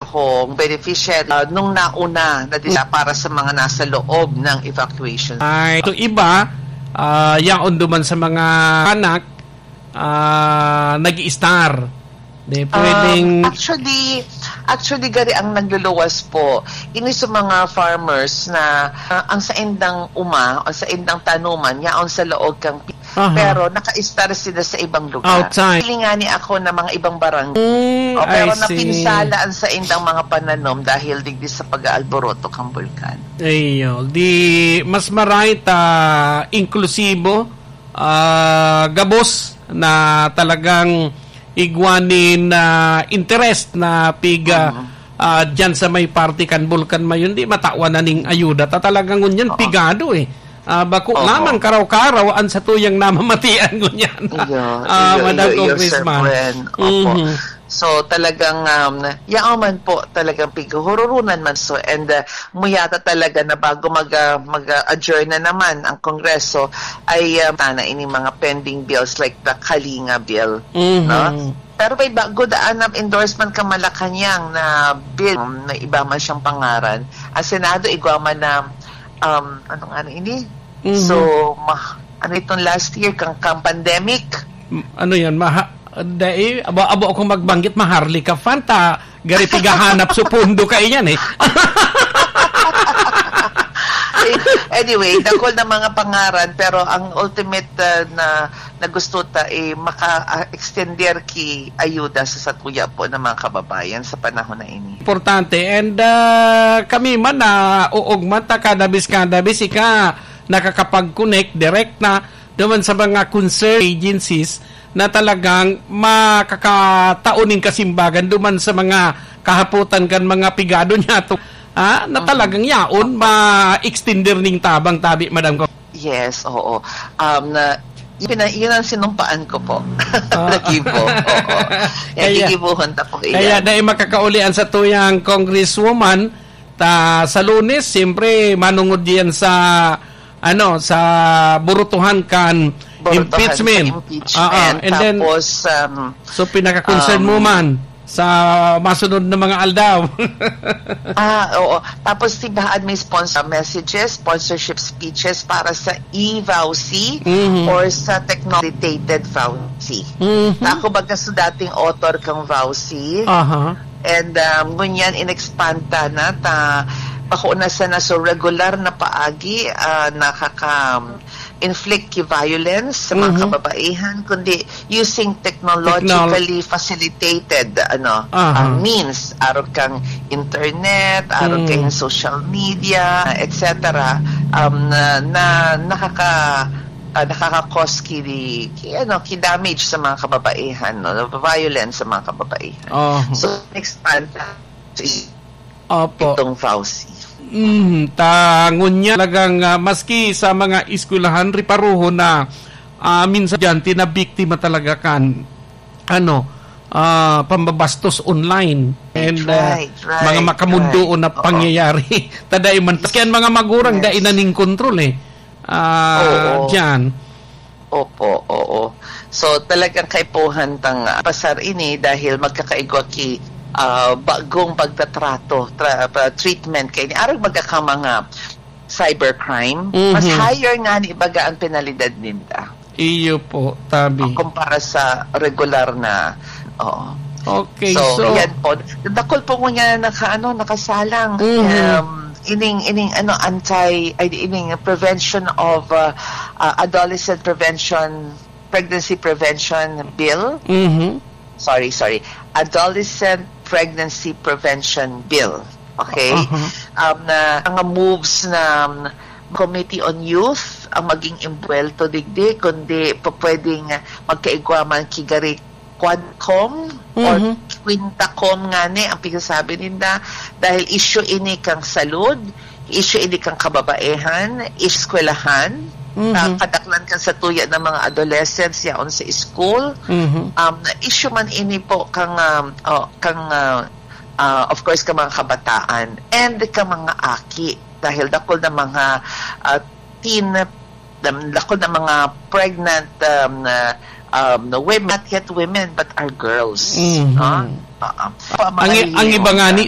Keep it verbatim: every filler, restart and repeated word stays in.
kong beneficiary, ah, nung nauna na din para sa mga nasa loob ng evacuation. Ay, ito iba, ah, yaon duman sa mga anak, ah, nag-i-star. Di Um, pwedeng actually, actually, gari ang nagluluwas po. Ini sa mga farmers na, ah, ang saindang uma, ang saindang tanuman, yaon sa laog kang pi-, Aha. pero naka-star sila sa ibang lugar. Outside. Pili nga ni ako na mga ibang barangay. Mm, O, pero I see. napinsala ang saindang mga pananom dahil digdi sa pag-aalboroto kang bulkan. Iyo, di mas maray ta inklusibo, ah, gabos na talagang igwa nin, ah, interest na piga, Mhm. ah, dyan sa may parte kan Bulkan Mayon, di matawan na ning ayuda. Ta talagang ngunyan, Oo. pigado eh. Ah, bako Oo. lamang karaw-karaw ang satuyang namamatian ngunyan. Iyo, Ah, iyo, Madam iyo, iyo, Sir Congressman. Gwen. Opo. Mhm. So, talagang, um, yaon man po, talagang pighuhururunan man. So, and, uh, muyata talaga na bago mag, ah, mag, ah, adjourn na naman ang Kongreso, ay, ah, tana ini mga pending bills like the Kalinga Bill, Mhm. no? Pero may ba, good, ah, na endorsement ka Malacañang na bill, um, na iba man siyang pangaran. Ang Senado, igwa man na, um, ano nga na ini? Mhm. So, ma-, ano itong last year, kang, kang pandemic? M-, ano yan? Maha-, dai, abo, abo akong magbanggit, Maharlika Fund, ah, gari pigahanap sa pondo kayo yan eh. Anyway, dakol na mga pangaran, pero ang ultimate, ah, na, na gusto ta, eh, maka-, ah, extender ki ayuda sa satuya po ng mga kababayan sa panahon na ini. Importante. And, ah, kami man na uog man ta, kada bis, kada bis, ika, nakakapag-connect direct na duman sa mga concerned agencies na talagang makakatao nin kasimbagan duman sa mga kahapotan kan mga pigado niyato, ah, na Mhm. talagang yaon ma-extender ning tabang tabi, Madam Ko. Yes, oo. Um, na, yun, na, yun ang sinumpaan ko po. Ah. Nagibo. Oo. Yan, Kaya, gigibuhon ta po kaya iyan. dai makakaulian sa tuyang Congresswoman, ta sa Lunes, siyempre, manungod yan sa, ano, sa burutuhan kan Burutuhan sa impeachment. impeachment. Ah, ah. And then, Tapos, um, so, pinaka-concern um, mo man sa masunod na mga aldaw. Ah, oo. Tapos, si Bahaan may sponsor messages, sponsorship speeches para sa e-voucy Mhm. or sa technology-related voucy. Mhm. Ako baga sa dating author kang voucy. Aha. And, um, ngunyan, in-expand ta na, ta, bako na sana sa regular na paagi, ah, nakaka-inflict ki violence sa mga Mhm. kababaihan, kundi using technologically Technol- facilitated, ano, Aha. ah, means, arog kang internet, arog Mm. kang social media, et cetera, um, na, na nakaka-, ah, nakaka-cause ki, ki, ano, ki damage sa mga kababaihan, no? Violence sa mga kababaihan. Oh. So, expand Opo. itong voucy. Mm, ta, ngunyan talagang, ah, maski sa mga eskwelahan, riparohon na, ah, minsan diyan, tinabiktima talaga kan, ano, ah, pambabastos online. And, ah, Right, right, mga makamundoon right. na Oo. pangyayari. Tadai man, maski ang mga magurang, Yes. dai na ning kontrol eh. Ah, Oo. diyan. Opo, oo. So, talagang kaipuhan tang, ah, pasar ini dahil magkakaigwa ki, ah, bagong pagtatrato, tra-, pa-, treatment kay ni arog baga ka mga cybercrime. Mhm. Mas higher nga ni baga ang penalidad ninda. Iyo po, tabi. Kumpara sa regular na, oo. Okay, So, so yan po. Dakol po ngunyan naka-, ano, nakasalang. Mhm. Um, ining, ining, ano, anti, ay, ining prevention of, uh, uh, adolescent prevention, pregnancy prevention bill. Mhm. Sorry, sorry. Adolescent Pregnancy Prevention Bill. Okay? Aha. Um, na mga moves na, um, Committee on Youth ang maging imbuwelto digdi, kundi pa-, pwedeng magkaigwa man ki gari Quadcom or Mhm. Quintacom ngani ang pigsasabi ninda, dahil issue ini kang salud, issue ini kang kababaehan, eskwelahan, Mhm. ah, kadaklan kan satuya ng mga adolescents yaon sa school. Mhm. Um, issue man ini po kang, um, oh, kang, ah, ah, of course, kang mga kabataan and kang mga aki. Dahil dakul na mga, ah, teen, um, dakul na mga pregnant, um, na, um, na women, not yet women, but are girls, Mhm. no? Oo. Pa-, Ang i-, ang iba nga ni,